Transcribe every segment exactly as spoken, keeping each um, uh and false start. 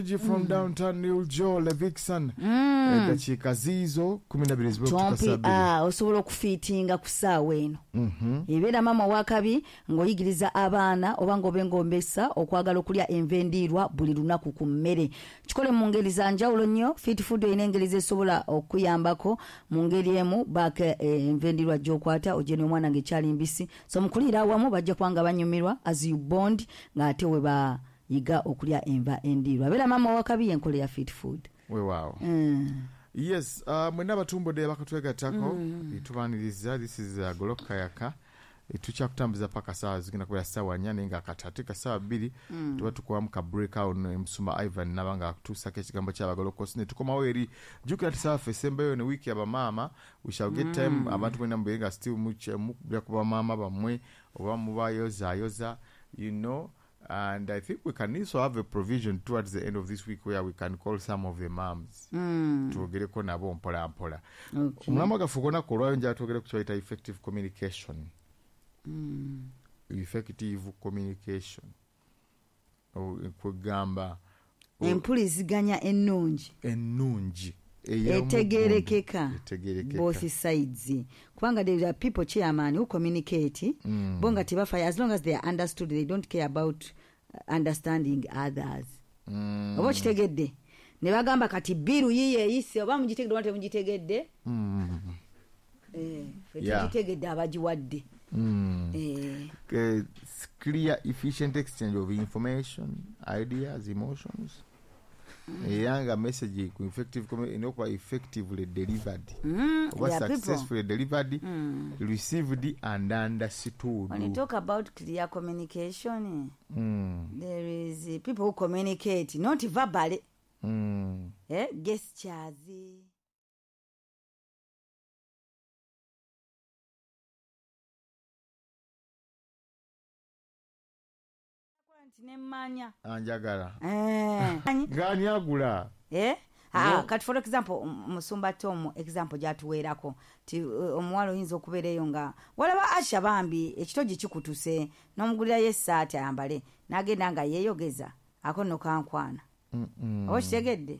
From downtown New Joe Levixon eddakiika ziizo kumi na bbiri Tompi, ah, osobola okufiitinga ku ssaawa eno. Ebeera maama wakabi ng'oyigiriza abaana oba ng'obe ng'ombesa okwagala okulya enva endiirwa buli lunaku ku mmere. Kikole mu ngeri za njawulo nnyo. Fit food erina engeri zesobola okuyambako mu ngeri emu baaka enva endiirwa gy'okwata ogye n'omwana ng'ekyali mbisi. So mukuliira awamu bajja kuba nga banyumirwa as you bond ng'ate we ba yiga okulya enva endiirwa. Beera maama wakabi y'enkola ya fit food. Weewaawo. Mm. Yes, uh, mwenna abatumbudde abakatwegattako tubaaniriza. This is uh, Golokoka Yaka. Tukyakutambuza paka saawa zigenda kubeera ssaawa nnya, naye nga kati ate ka ssaawa bbiri tuba tukuwamu ka break awo Musumba Ivan naba nga akutuusako ekigambo ky'abagolokosi ne tukomawo eri. Jjukira nti ssaawa ffe esembayo ne wiiki abamaama. We shall get time abantu mwenna mubeere nga still mukubira ku bamaama bammwe oba mubayozaayoza, you know. And I think we can also have a provision towards the end of this week where we can call some of the moms. Twogereko nabo mpola mpola. Omulamwa gwaffe ogw'olunaku olwaleero njagala twogere ku kye bayita effective communication. Effective communication. Kwegamba empuliziganya ennungi. Ennungi. Etegerekeka. Etegerekeka. Both sides. Kubanga there are people chairman who communicate. Mm. Bo nga tebafa, as long as they are understood, they don't care about understanding others. Mm. Oba okitegedde? Ne bagamba kati biru yiye eyise, oba mugitegedde oba temugitegedde? Mm. Eh, ffe Yeah. tugitegedde abagiwadde. Mm. Eh. Uh, clear, efficient exchange of information, ideas, emotions. Era nga message ku effective erina okuba effectively delivered. Mm, Oba there are people. successfully delivered, Mm. received and understood. When you talk about clear communication, Mm. there is uh, people who communicate not verbally. Mm. Eh, gestures. Nemmanya. Anjagala. Eh. Ngani agula? Eh? Ah, No. kati for example, Musumba Tom example gyatuweerako ti uh, omuwala oyinza okubeera eyo nga walaba Asha bambi ekitogi kikutuse n'omugulirayo essaati ayambale n'agenda nga yeeyogeza ako nno kankwana. Mm-mm. Oba okitegedde?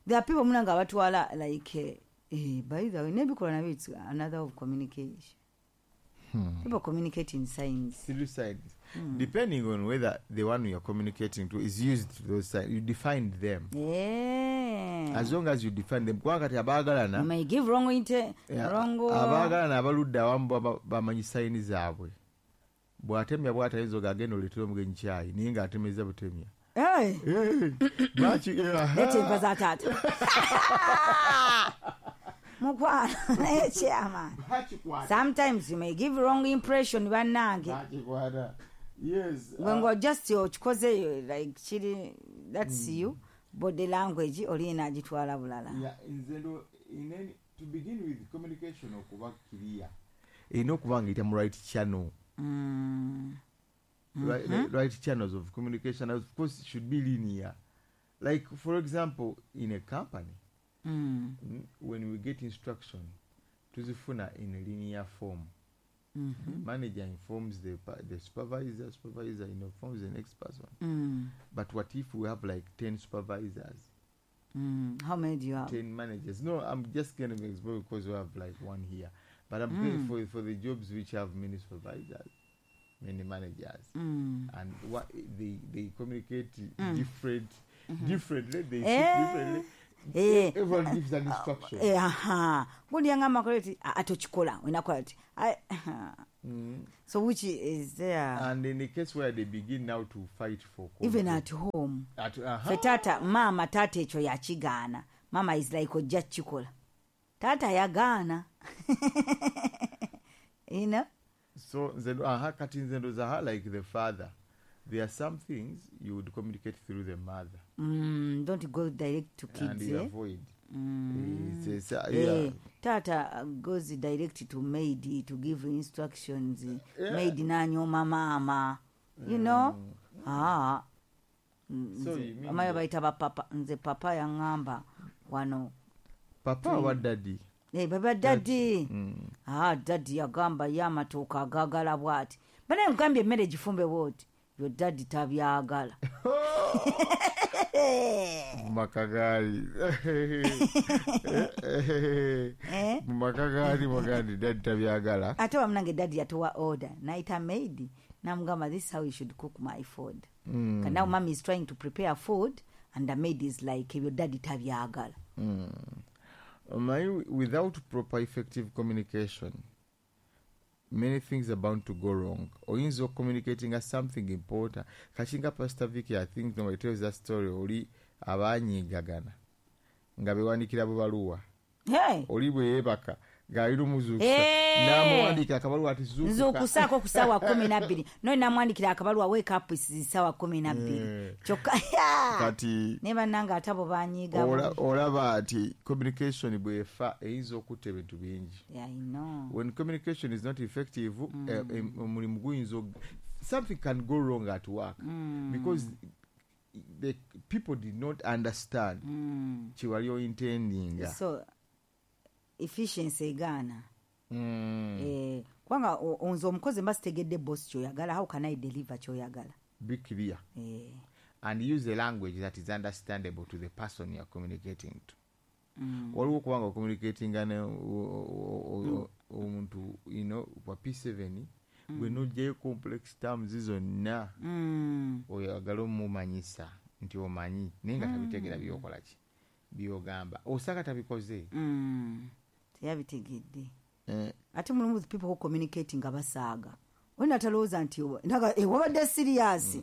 There are people muna nga batwala like eh, by the way n'ebikolwa nabyo it's another of communication. Hmm. People communicate in signs. Through signs. Mm. Depending on whether the one you are communicating to is used to those signs, you define them. Yeah. As long as you define them. Kubanga kati abaagalana, You may give wrong inte, Yeah, wrong abaagalana abaludde awamu baba-, bamanyi sayini zaabwe. Bw'atemya bw'atayinza ogagenda oleetere omugenyi kyayi, naye ng'atemezza butemya. Hey. Hey. Lwaki, eh, aha. Leeta enva za taata. Mukwano, naye chairman. Bakikwata. Sometimes you may give wrong impression bannange. Bakikwata. Yes. Gwe uh, ngo just okikoze like kiri, that's Mm. you. Body language olina agitwala bulala. Yeah, nze ndo, in any, to begin with communication okuba clear. Erina okuba nga eyita mu right channel. Mm. Right, Mm-hmm. right channels of communication, of course, it should be linear. Like, for example, in a company, Mm. mm, when we get instruction, tuzifuna in a linear form. Mm-hmm. Manager informs the, the supervisor, supervisor informs the next person. Mm. But what if we have like ten supervisors? Mm. How many do you have? ten managers. No, I'm just gonna be exposed because we have like one here. But I'm Mm. going for, for the jobs which have many supervisors, many managers. Mm. And what they, they communicate Mm. different, Mm-hmm. differently. They speak Eh. differently. Eh. Everyone gives an instruction. Eh, aha. Gundi yangamba kola ati, ah, atokikola, olina ati. I, Mm. So which is there? And in the case where they begin now to fight for control. Even at home. At, uh-huh. Fe tata, mama tata ekyo yakigaana. Mama is like ojja kukikola. Tata yagaana. You know? So nze ndo, aha, kati nze ndowooza, aha, like the father. There are some things you would communicate through the mother. Mm, don't go direct to kids. And you eh? avoid. Mm. It's, it's, uh, Eh, yeah. Tata goes direct to maid to give instructions. Yeah. Maid nanyoma mama. You know? Mm. Ah. So you mean Amaya that bayita ba papa. Nze papa yangamba wano. Papa Mm. wa daddy? Eh, baba daddy. Mm. Ah, daddy yagamba yamatuuka agagala bw'ati. Banaye nkugambye emmere gifumbe bw'oti. Your daddy tabyagala. Mu maka gaali mu maka gaali mugandi daddy tabyagala. Ate wamunange daddy yatuwa order, naita maid namugamba, "This is how you should cook my food." mm. Now mommy is trying to prepare food and the maid is like, "Ebyo daddy tabyagala." mm. Omanyi, without proper effective communication, many things are bound to go wrong. Oyinza communicating as something important. Kakinga Pastor Vicky, I think nobody tells that story, oli abanyigagana nga bewandikira bubaluwa. Hey. Oli bwe yeebaka ng'alina omuzuukusa, Hey. n'amuwandiikira akabaluwa ati zuukuka. Nzuukusaako ku ssaawa kumi nabbiri, no namwandikira akabaluwa, "Wake up, ssaawa kumi nabbiri." Eh. Kyokka Kati ne bannange ate abo banyiiga. ola- olaba nti communication bw'efa eyinza okutta ebintu bingi. Yeah, I know. When communication is not effective, eh, em- omulimu guyinza og- something can go wrong at work because the people did not understand kyewali ointendinga. So efficiency egaana. Mm. Eh, kubanga o- nze omukozi mba sitegedde boss kyoyagala, how can I deliver kyoyagala? Be clear Eh, and use a language that is understandable to the person you are communicating to. Waliwo okubanga ocommunicatinga ne o- o- o- omuntu you know wa P seven, gwe nojjayo complex terms zonna, mm, oyagala omumanyisa nti omanyi, naye nga tabitegeera byokola ki byogamba, osanga tabikoze. mm. teyabitegedde. Eh, Ate mulimu the people who communicate nga basaaga, olina talowooza nti oba- naga, eh, wabadde serious,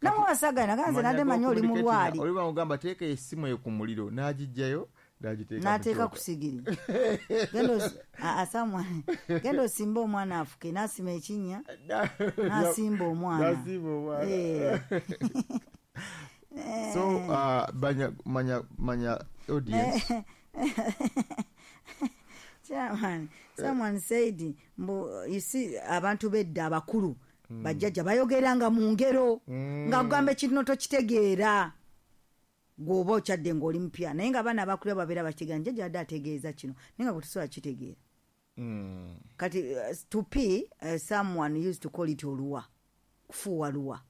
namwe wasaaga naga nze nadde manyi oli mulwali. Oli bamugamba teeka essimu eyo ku muliro, n'agijjayo n'agiteeka mu N'ateeka kyoto. Ku sigiri. Genda osi- a- a- someone- genda osimbe omwana afuke, n'asima ekinnya, n'asimba omwana. N'asimba omwana. Eh. So uh, manya, manya, manya audience. Chairman, someone said mbu you see, abantu bedda abakulu, bajjajja bayogeranga mu ngero, nga kugamba ekintu notokitegeera gweoba okyadde ng'oli mupya, naye nga abaana abakulira babeera bakitegeera, njajja adde ategeeza kino, naye nga gwe tosobola kitegeera. Mm. Kati uh, to pee, uh, someone used to call it oluwa, kufuuwa luwa.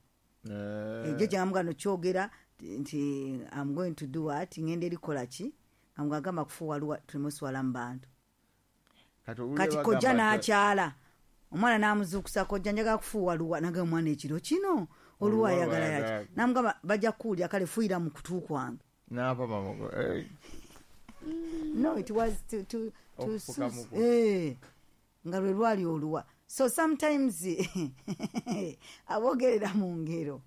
Eh, Jjajja nga mugano kyogera nti "I'm going to do what?" Ngenda erikola ki, nga mugagamba kufuuwa luwa, tulemuswala mu bantu. Kati owulira Kati kojja bagamba nti- n'akyala omwana n'amuzuukusa, "Kojja, njagala kufuuwa luwa." Naga omwana ekiro kino oluwa Oluwa ayagala ayagala. yaki? Namugamba, "Bajja kuwulira, kale fuuyira mu kutu kwange." N'apa mamogo eh, No, it was to, to, to Okufuka mu kutu. Eh, nga lwe lwali oluwa. So sometimes abogerera mu ngero.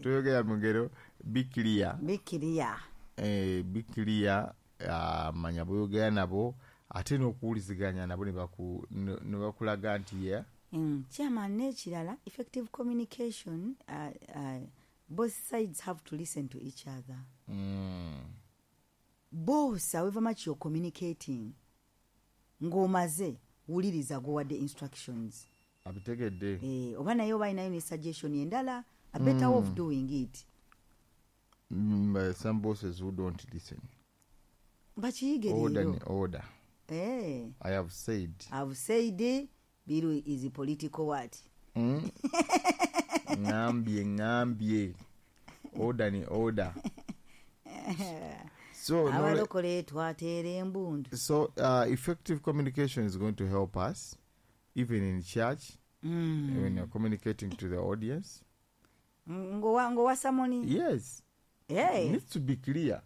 Toyogera mu ngero, be clear. Be clear. Eh, be clear, uh, manya bweyogera nabo, ate n'okuwuliziganya nabo ne baku- ne ne bakulaga nti ye Mm, chairman, n'ekirala, effective communication, uh, uh, both sides have to listen to each other. mm. Both, however much you're communicating, ng'omaze wuliriza gwewadde instructions. Abitegedde. Eh, oba naye oba alinayo ne suggestion endala, a better way of doing it. Mm, but some bosses who don't listen. Bakiyige Order leero. ni order. Eh, I have said. I've said biru is political what. Mm. Ŋambye, ŋambye, order ni order. So no, Abalokole twateera embundu. So uh, effective communication is going to help us even in church Mm. when you're communicating to the audience. Ng'owa ng'owa sermon. Yes. Hey. It needs to be clear.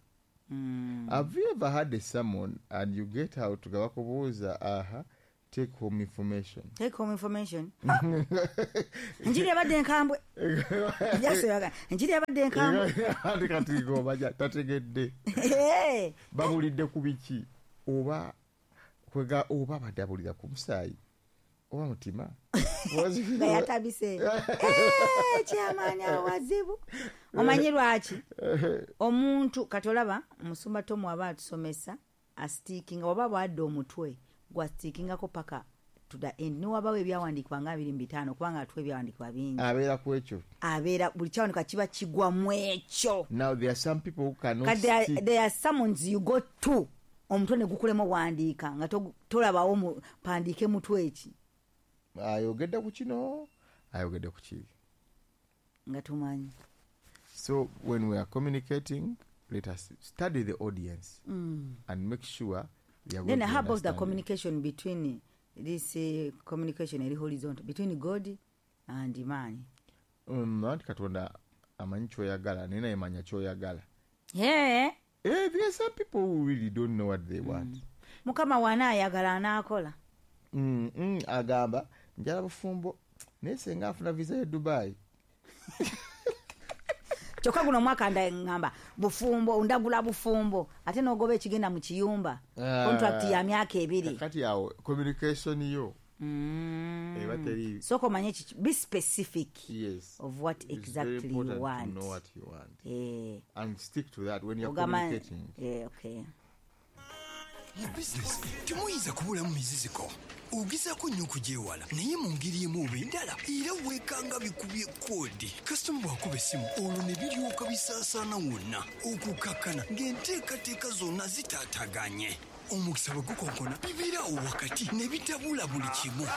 Mm. Have you ever had a sermon and you get out nga bakubuuza, aha, take home information? Take home information. Enjiri ebadde enkambwe. Jasoyaga enjiri ebadde enkambwe. Ate kati ng'obaja tategedde. Hey. Babulidde ku biki, oba kwega oba abadde abulira ku musaayi oba mutima? Nga yatabise. Eh, kyamaanyi awazibu. Omanyi lwaki omuntu kati olaba omusumba Tomu aba atusomesa, astickinga oba bwadde omutwe gwastickinga paka to the end, niwabawo ebyawandiikibwa nga abiri mu bitaano, kubanga atuwa ebyawandiikibwa bingi. Abeera ku ekyo. Abeera buli kyawandiikibwa kiba kigwa mu ekyo. Now there are some people who cannot Kati there, stick. there are sermons you go to, omutwe ne gukulema owandiika nga togu- tolabawo mu- pandiike mutwe eki. Ayogedde ku kino, ayogedde ku kiri. Nga tumanyi. So when we are communicating, let us study the audience mm. and make sure they are then going to how about the understand you. Communication between this uh, communication eri horizontal between God and man? Mm, anti Katonda amanyi kyoyagala, naye naye manya kyoyagala. Yeah. Eh, there are some people who really don't know what they want. Mm. Mukama wanaayagala anaakola. Mm, mm, agamba njala bufumbo, naye senga afuna visa ye Dubai. Kyokka guno omwaka ngamba bufumbo, ndagula bufumbo, ate n'ogoba ekigenda mu kiyumba. Ah. Contract ya myaka ebiri. Kakati awo communication yo Mm. eba teri. Sooka omanye kiki, be specific Yes. of what It's very exactly you important to want. know what you want. Eh. And stick to that when you're Ogamba- communicating. Eh, okay. Mu bizinesi temuyinza kubulamu miziziko, ogezaako nnyo okugyewala, naye mu ngeri emu oba endala era weekanga bikubye koodi. Kasitoma bw'akuba essimu olwo ne biryoka bisaasaana wonna, okukakkana ng'enteekateeka zonna zitaataganye. Omukisa bwe gukonkona bibeera awo wakati ne bitabula buli kimu.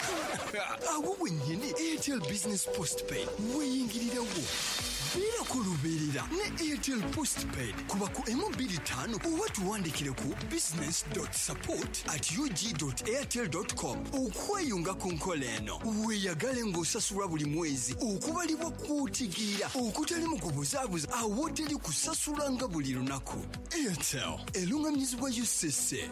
Awo wennyini Airtel Business Postpaid weeyingirirawo. Beerako lubeerera ne Airtel Postpaid, kuba ku emu bbiri ttaano oba tuwandikire ku business dot support at U G dot airtel dot com okweyunga ku nkola eno. Weeyagale ng'osasulwa buli mwezi okubalibwa kw'otegeera okutali mu kubuzaabuza, awo teri kusasulanga buli lunaku. Airtel eruŋŋamizibwa U C C.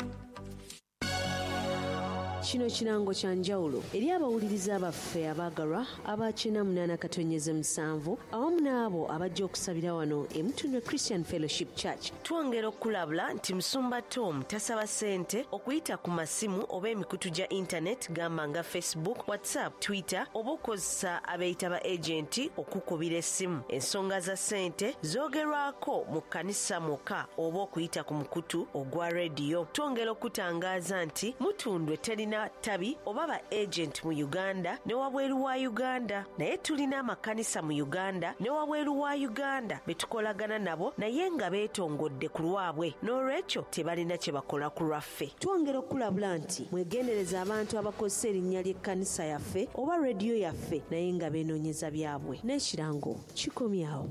Kino kirango kya njawulo eri abawuliriza baffe abaagalwa aba kyenda munaana katonyeze musanvu awamu n'abo abajja okusabira wano e Mutundwe Christian Fellowship Church. Twongera okulabula nti Musumba Tom tasaba ssente okuyita ku masimu oba emikutu gya internet gamba nga Facebook, WhatsApp, Twitter oba okukozesa abeeyita ba agenti okukubira essimu. Ensonga za ssente zoogerwako mu kkanisa mwokka oba okuyita ku mukutu ogwa rediyo. Twongera okutangaaza nti Mutundwe terina tabi oba ba agent mu Uganda ne wabweru wa Uganda, naye tulina amakanisa mu Uganda ne wabweru wa Uganda be tukolagana nabo, naye nga beetongodde ku lwabwe, n'olwekyo tebalina kye bakola ku lwaffe. Twongera okulabula nti mwegendereza abantu abakozesa erinnya ly'ekkanisa yaffe oba rediyo yaffe naye nga beenoonyeza byabwe. N'ekirango kikomyawo.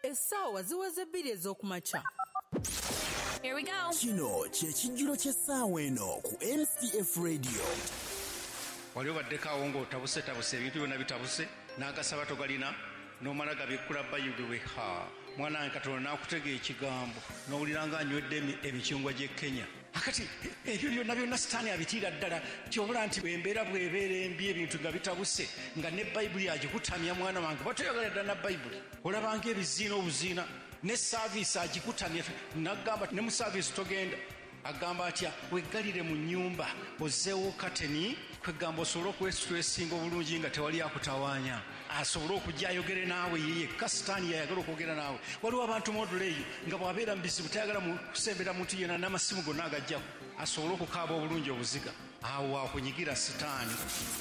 Essaawa ziweze bbiri ez'okumakya. Here we go. Kino kye kijjulo ky'essaawa eno ku M C F Radio. Wali obaddeko awo ng'otabusetabuse, ebintu byonna bitabuse, n'agasaba togalina, n'omala gabikkula Bayibuli, ha mwana wange, Katonda n'akutega ekigambo n'owulira nga anywedde emi- emicungwa gy'e Kenya. Akati ebyo byonna byonna Sitaani abitiira ddala. Kyobula nti embeera bw'ebeera embi, ebintu nga bitabuse, nga ne Bayibuli agikutamya, mwana wange, batoyagala ddala na Bayibuli, olabanga ebiziina obuziina, ne service agikutamya, nagamba ne mu service togenda. Agamba atya? Weggalire mu nnyumba, ozzeewo kateni, kwegamba osobole okwesitwesinga obulungi nga tewali akutawaanya, asobole okujja ayogere naawe ye yekka. Sitaani yayagala okwogera naawe. Waliwo abantu modula eyo nga bw'abeera mu bizibu tayagala mu kusembera muntu yenna, n'amasimu gonna agajjako, asobole okukaaba obulungi obuziga. Awo akunyigira Sitaani.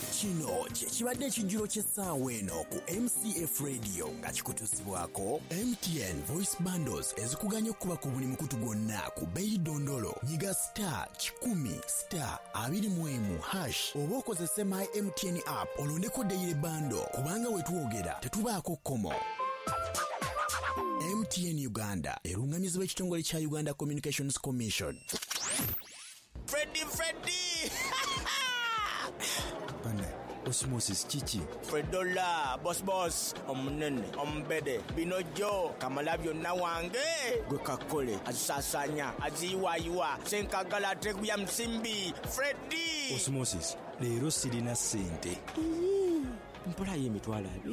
Kino kye kibadde ekijjulo ky'essaawa eno ku M C F Radio nga kikutuusibwako M T N Voice Bundles ezikuganya okukuba ku buli mukutu gwonna ku bbeeyi ddondolo. Nyiga star kikumi star abiri mu emu hash oba okozese My M T N app olondeko daily bundle, kubanga we twogera tetubaako kkomo. M T N Uganda eruŋŋamizibwa ekitongole kya Uganda Communications Commission. Freddy, Freddy! Bane, Osmosis kiki? Fredola, boss boss, omunene, omubede, binojo, kamala byonna wange. Gwe kakole, azisaasaanya, aziyiwaayiwa, senkagala ateguya musimbi, Freddy! Osmosis, leero sirina ssente. Mpolayo emitwalo abiri.